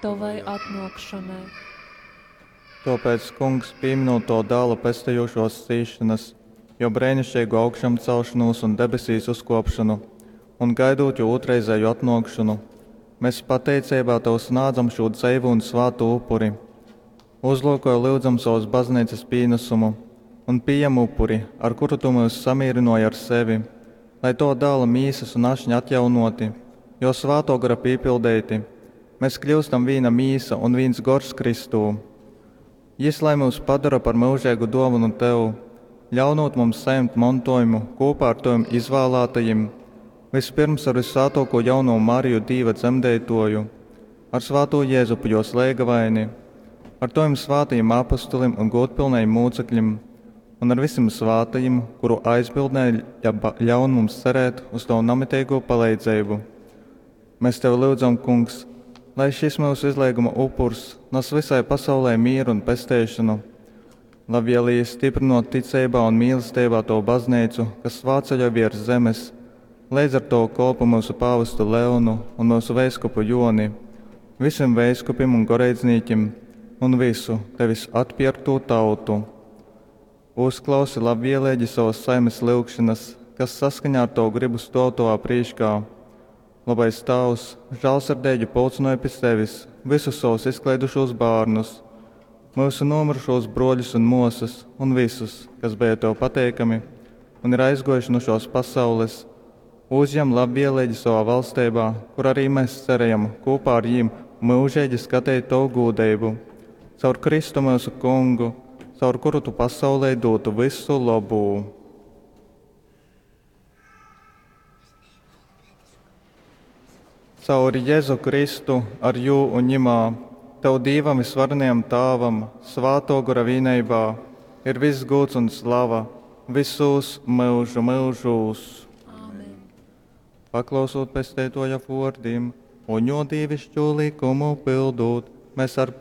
Tovai atnōkšonai. Tōpēc, Kungs, pīmynūt Tō Dāla pestejušōs cīsšonas, Jō breiniškeigu augšamcelšonūs un debesīs uzkōpšonu un gaidūt Jō ūtrreizēju atnōkšonu, mes pateiceibā Tev snādzam šū dzeivū un svātū upuri. Uzlyukoj, lyudzam, sovas Bazneicas pīnasumu un pījem upuri, ar kuru Tu myus samīrynōji ar sevi, lai Tova Dāla mīsas un ašņa atjaunōti, Jō Svātō Gora pīpildeiti, mes kļyustam vīna mīsa un vīns gors Kristū. Jys lai myus padora par myužeigu dōvonu Tev, ļaunūt mums sajimt montōjumu kūpā ar Tovim izvālātajim, vyspyrms ar vyssvātōkū jaunovu Mariju Dīva dzemdeitōju, ar svātū Jezupu jōs leigavaini, ar Tovim svātajim apostolim un gūdpilnajim mūcekļim un ar visim svātajim, kuru aizbildnē ļaun mums cerēt uz Tovu namiteigū paleidzeibu. Mēs Tevi lyudzam, Kungs, lai šis myusu izleiguma upurs nas visai pasaulē mīru un pesteišonu. Labvēlīgi stiprinot ticeibā un mīlestībā Tavu baznīcu, kas svātceļoj viers zemes, leidz ar Tovu kolpu myusu pāvestu Leonu un myusu veiskupu Joni, visim veiskupim un goreidznīkim un visu Tevis atpierktū tautu. Uzklausi labvēlīgi savas saimes lyugšanas, kas saskaņā ar Tavu gribu stōv Tovā prīškā. Labais Tāvs, žālsirdeigi pulcynoj pi sevis visus savus izkleidušūs bārnus, myusu nomyrušūs brōļus un mōsas un visus, kas beja Tev pateikami un ir aizgōjuši nu šōs pasaules. Uzjem labvēlīgi savā valsteibā, kur arī mēs cerējam kopā ar jīm myužīgi skateit Tovu gūdeibu. Caur Kristu myusu Kungu, caur kuru Tu pasaulei dūtu visu labū. Caur Jēzu Kristu, ar jū un ņimā, Tev Dīvam visvarenajam Tāvam, Svātō Gora vīneibā, ir viss gūds un slava visūs myužu myužūs. Āmen. Paklausūt Pesteitoja vōrdim un jō dīvišķū likumu pildūt, mēs ar.